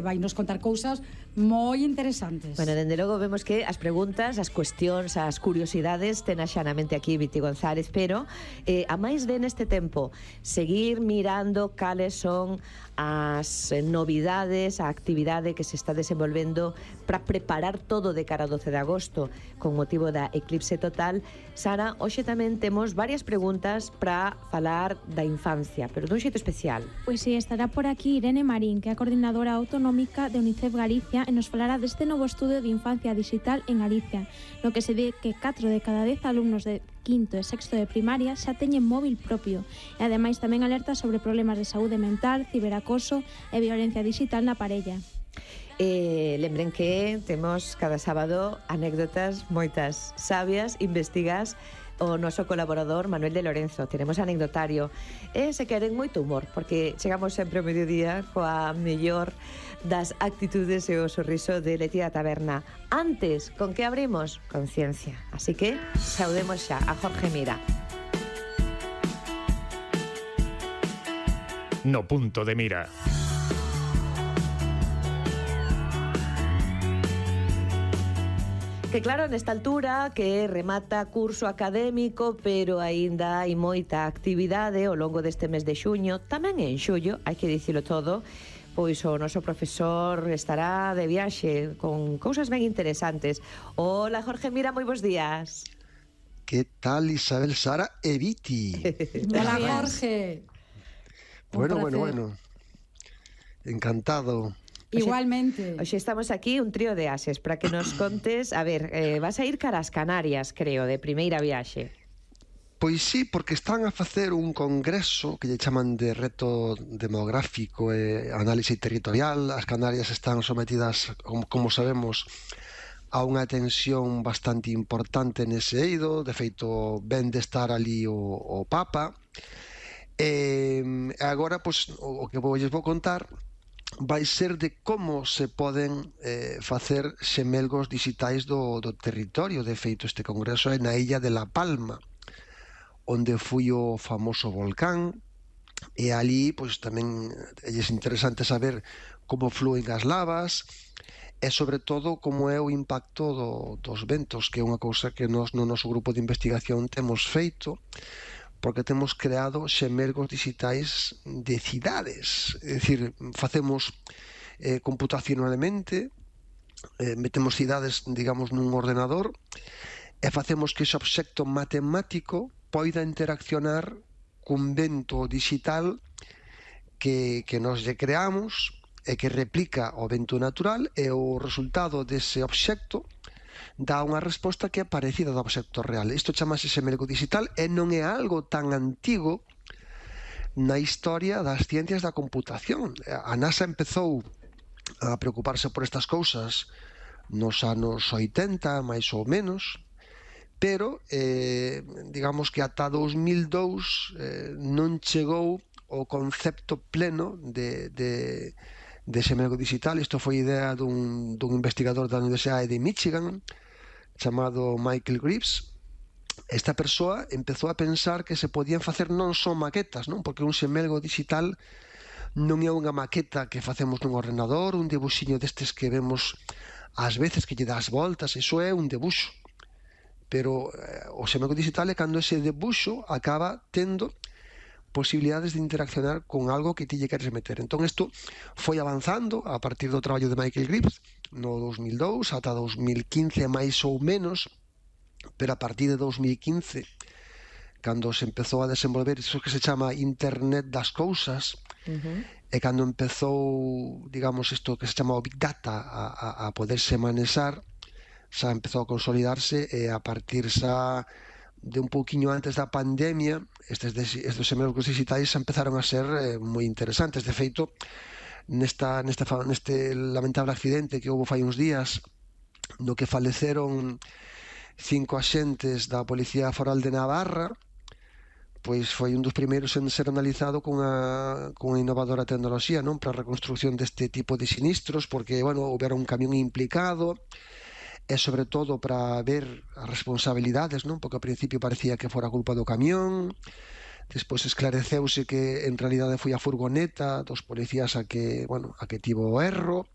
vai nos contar cousas moi interesantes. Bueno, dende logo vemos que as preguntas, as cuestións, as curiosidades ten axanamente aquí Viti González, pero a máis de neste tempo seguir mirando cales son as novidades, a actividade que se está desenvolvendo para preparar todo de cara ao 12 de agosto con motivo da eclipse total. Sara, hoxe tamén temos varias preguntas para falar da infancia, pero dun xeito especial. Pois sí, estará por aquí Irene Marín, que é a coordinadora autonómica de UNICEF Galicia, e nos falará deste novo estudio de infancia digital en Galicia, no que se ve que 4 de cada 10 alumnos de quinto e sexto de primaria xa teñen móvil propio, e ademais tamén alerta sobre problemas de saúde mental, ciberacoso e violencia digital na parella. Lembren que temos cada sábado anécdotas moitas sabias, investigas o noso colaborador Manuel de Lorenzo. Tenemos anecdotario e se queren moito humor, porque chegamos sempre ao mediodía coa mellor das actitudes e o sorriso de Leti da Taberna. Antes, con que abrimos? Con ciencia. Así que saudemos xa a Jorge Mira. No punto de mira. Que claro, nesta altura que remata curso académico, pero aínda hai moita actividade ao longo deste mes de xuño, tamén en xullo, hai que dicilo todo, pois o noso profesor estará de viaxe con cousas ben interesantes. Hola, Jorge Mira, moi bons días. Que tal, Isabel, Sara e Viti? Hola, Jorge. Bueno. Encantado. Igualmente. Hoxe estamos aquí un trío de ases para que nos contes, a ver, vas a ir cara ás Canarias, creo, de primeira viaxe. Pois sí, porque están a facer un congreso que lle chaman de reto demográfico e análise territorial. As Canarias están sometidas, como sabemos, a unha tensión bastante importante nese eido. De feito, ven de estar ali o Papa. E agora, pois, o que vou contar vai ser de como se poden facer xemelgos digitais do territorio. De feito, este congreso é na illa de La Palma, onde foi o famoso volcán, e ali pois tamén é interesante saber como flúen as lavas e sobre todo como é o impacto dos ventos, que é unha cousa que nós no noso grupo de investigación temos feito, porque temos creado xemelgos digitais de cidades. É dicir, facemos computacionalmente, metemos cidades, digamos, nun ordenador e facemos que ese obxecto matemático poida interaccionar cun vento digital que nós lle creamos e que replica o vento natural, e o resultado dese obxecto dá unha resposta que é parecida do obxecto real. Isto chamase xemelgo digital e non é algo tan antigo na historia das ciencias da computación. A NASA empezou a preocuparse por estas cousas nos anos 80, máis ou menos, pero digamos que ata 2002 non chegou o concepto pleno de xemelgo digital. Isto foi idea dun investigador da Universidade de Michigan chamado Michael Greaves. Esta persoa empezou a pensar que se podían facer non só maquetas, non? Porque un xemelgo digital non é unha maqueta que facemos nun ordenador, un debuxiño destes que vemos ás veces que lle das voltas, iso é un debuxo. Pero o xemelgo digital é cando ese debuxo acaba tendo posibilidades de interaccionar con algo que ti lle queres meter. Entón, isto foi avanzando a partir do traballo de Michael Greaves no 2002 ata 2015 máis ou menos, pero a partir de 2015, cando se empezou a desenvolver iso que se chama Internet das Cousas, e cando empezou, digamos, isto que se chama o Big Data a poderse manexar, xa empezou a consolidarse, e a partir xa de un pouquiño antes da pandemia, estes xemelgos digitais empezaron a ser moi interesantes. De feito, neste lamentable accidente que houve fai uns días, no que faleceron 5 axentes da Policía Foral de Navarra, pois foi un dos primeiros en ser analizado cunha innovadora tecnoloxía, non, para a reconstrucción deste tipo de sinistros, porque, bueno, houbera un camión implicado, e sobre todo para ver as responsabilidades, non? Porque ao principio parecía que fora culpa do camión, despois esclareceuse que en realidade foi a furgoneta dos policías a que tivo o erro,